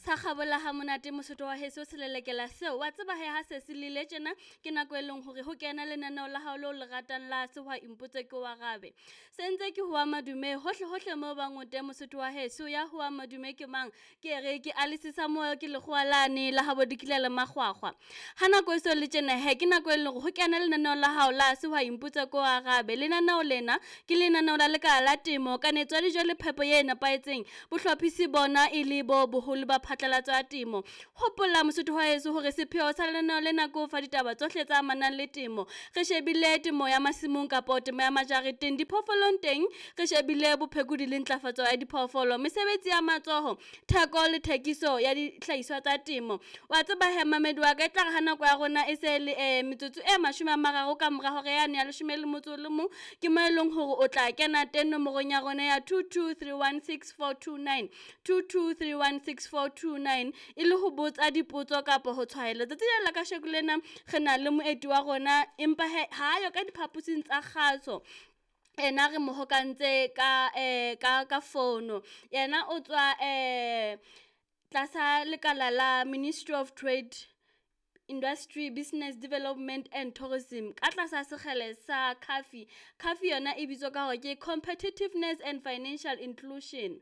Sa kgabola ha monate Mosotho wa heso selelekela seo. Wa tseba he ha se se lile tjena ke nako e leng hore ho kena lenaneo la hao leo le ratang la Sehwai Mpotse Ke o Arabe. Se ntse ke hoa madume hohle hohle moo bang o teng Mosotho wa heso ya hoa madume ke mang? Ke re ke Alice Samuel ke lekgowa lane la habo dikila le makgwakgwa. Ha nako e so le tjena he ke nako e leng hore ho kena lenaneo la hao la Sehwai Mpotse Ke o Arabe. Lenaneo lena ke lenaneo la lekala la temo, kanetso ya dijo le phepo e nepahetseng. Bohlophisi bona e le bo boholo ba phatlalatso ya temo. Hopola Mosotho wa heso hore sepheo sa lenaneo lena ke ho fa ditaba tsohle tse amanang le temo. Re shebile temo ya masimong kapo temo ya majareteng, diphoofolong teng re shebile bophekodi le ntlafatso ya diphoofolo, mesebetsi ya matsoho, theko le thekiso ya dihlahiswa tsa temo. Wa tseba he mamedi wa ka e tlare ha nako ya rona e se le metsotso e 30 ka mora hora yane ya 11 ke mo e leng hore o tla kena teng nomorong ya rona ya 22316429 22316429 e le ho botsa dipotso kapa ho tshwaela. Tsatsi lena la kasheko lena re na le moeti wa rona empa he ha yo ka diphaposing tsa kgaso. Ena re mo hokantse ka ka fono. Yena o tswa tlasa lekala la Ministry of Trade, Industry, Business Development and Tourism ka tlasa sekgele sa CAFI. CAFI yona e bitswa ka hore ke Competitiveness and Financial Inclusion.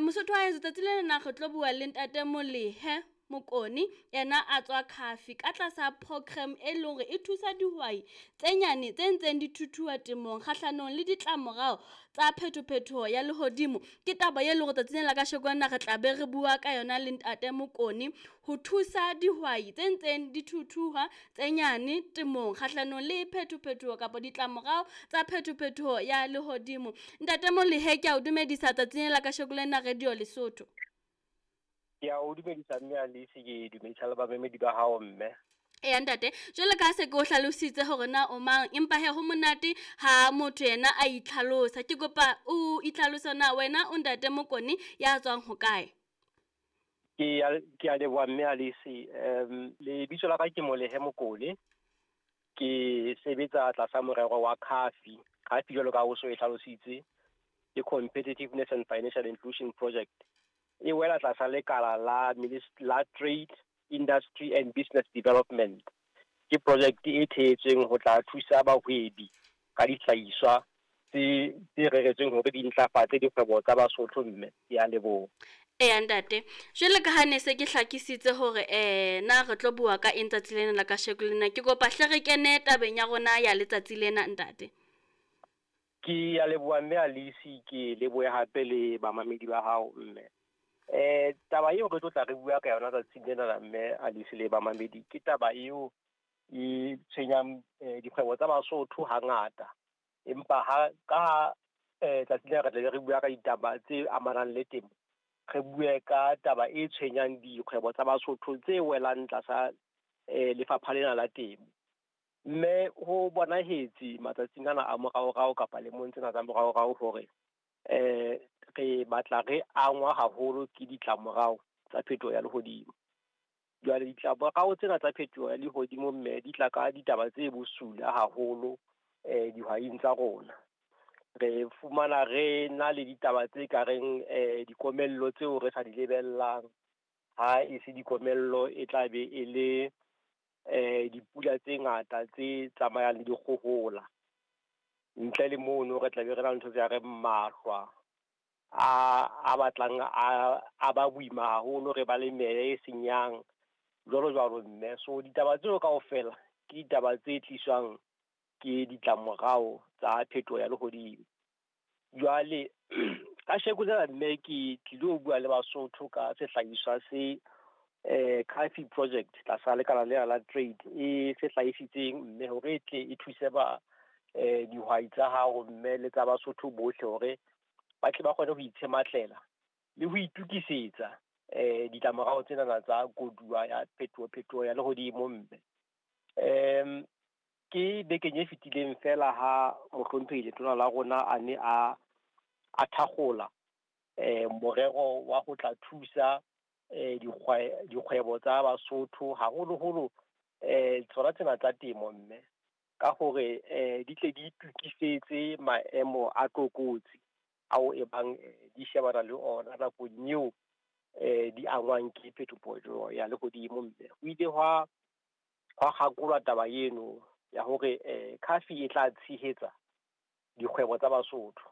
Mosotho wa heso tsatsi lena na re tlo bua le ntate Molehe Mokone yena a tswa CAFI ka tlasa program e leng hore e thusa dihwai tse nyane tse ntseng di thuthuha temong kgahlanong le ditlamorao tsa phetophetoho ya lehodimo. Ke taba e leng hore tsatsing lena la kasheko lena re tla be re bua ka yona le ntate Mokone ho thusa dihwai tse ntseng di thuthuha tse nyane temong kgahlanong le phetophetoho kapa ditlamorao tsa phetophetoho ya lehodimo. Ntate Molehe ke a o dumedisa tsatsing lena la kasheko lena Radio Lesotho. Ke a o dumedisa mme Alice, ke dumedisa le bamamedi ba hao mme. Eya ntate, jwale ka se ke o hlalositse hore na o mang, empa he ho monate ha motho yena a itlhalosa. Ke kopa o itlhalose na wena o ntate Mokone ya tswang hokae? Ke a leboha mme Alice. Lebitso la ka ke Molehe Mokone. Ke sebetsa tlasa morero wa CAFI. CAFI jwalo ka o so e hlalositse, ke Competitiveness and Financial Inclusion Project. E wela tlasa lekala la la Trade, Industry and Business Development. Ke project e thehetsweng ho tla thusa bahwebi ka dihlahiswa tse reretsweng hore di ntlafatse dikgwebo tsa Basotho mme. Ke a leboha. Eya ntate, jwale ka ha ne se ke hlakisitse hore na re tlo bua ka eng tsatsi lena la kasheko lena, ke kopa hle re kene tabeng ya rona ya letsatsi lena ntate. Ke a leboha mme Alice, ke lebohe hape le bamamedi ba hao mme. Taba eo re tlo tla re bua ka yona tsatsing lena la mme Alice le bamamedi, ke taba eo e tshwenyang dikgwebo tsa Basotho hangata. Empa ha ka tsatsing lena re tla be re bua ka ditaba tse amanang le temo, re bue ka taba e tshwenyang dikgwebo tsa Basotho tse welang tlasa lefapha lena la temo. Mme ho bonahetse matsatsing ana a moraorao kapa lemong tsena tsa moraorao hore re batla re angwa haholo ke ditlamorao tsa phetoho ya lehodimo. Jwale ditlamorao tsena tsa phetoho ya lehodimo mme di tla ka ditaba tse bosula haholo dihwaing tsa rona. Re fumana re na le ditaba tse ka reng dikomello tseo re sa di lebellang. Ha e se dikomello e tla be e le dipula tse ngata tse tsamayang le dikgohola. Ntle le mono re tla be re na le ntho tse reng mahlwa a batlang a ba boima haholo, re ba le meya e senyang jwalo jwalo mme. So ditaba tseo kaofela ke ditaba tse tliswang ke ditlamorao tsa phetoho ya lehodimo. Jwale kasheko lena mme ke tlilo bua le Basotho ka sehlahiswa se CAFI project tlasa lekala lena la trade e se hlahisitseng mme hore e tle e thuse ba dihwai tsa hao mme le tsa Basotho bohle hore ba tle ba kgone ho itshematlela le ho itukisetsa ditlamorao tsena tsa koduwa ya phetoho ya lehodimo mme. Ke bekeng e fetileng fela ha mohlomphehi letona la rona a ne a thakgola morero wa ho tla thusa dikgwebo tsa Basotho haholoholo tsona tsena tsa temo mme ka hore di tle di itukisetse maemo a tlokotsi ao e bang di shebana le ona nakong eo di angwang ke phetoho ya lehodimo mme. Ho ile hwa kgakolwa taba eno ya hore CAF e tla tshehetsa dikgwebo tsa Basotho.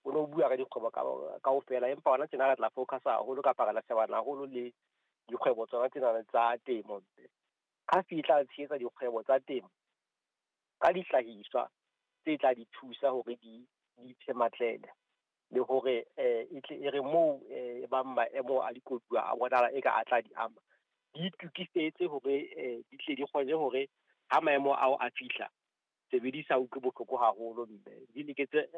O no bua ka dikgwebo kaofela, empa hona tjena re tla focus haholo kapa re tla shebana haholo le dikgwebo tsona tsena tsa temo. CAF e tla tshehetsa dikgwebo tsa temo ka dihlahiswa tse tla di thusa hore di iphe matlele, le hore e tle e re moo e bang maemo a dikoduwa a bonahala e ka a tla di ama, di itokisetse hore di tle di kgone hore ha maemo ao a fihla, se be di sa utlwe bohloko haholo mme di loketse.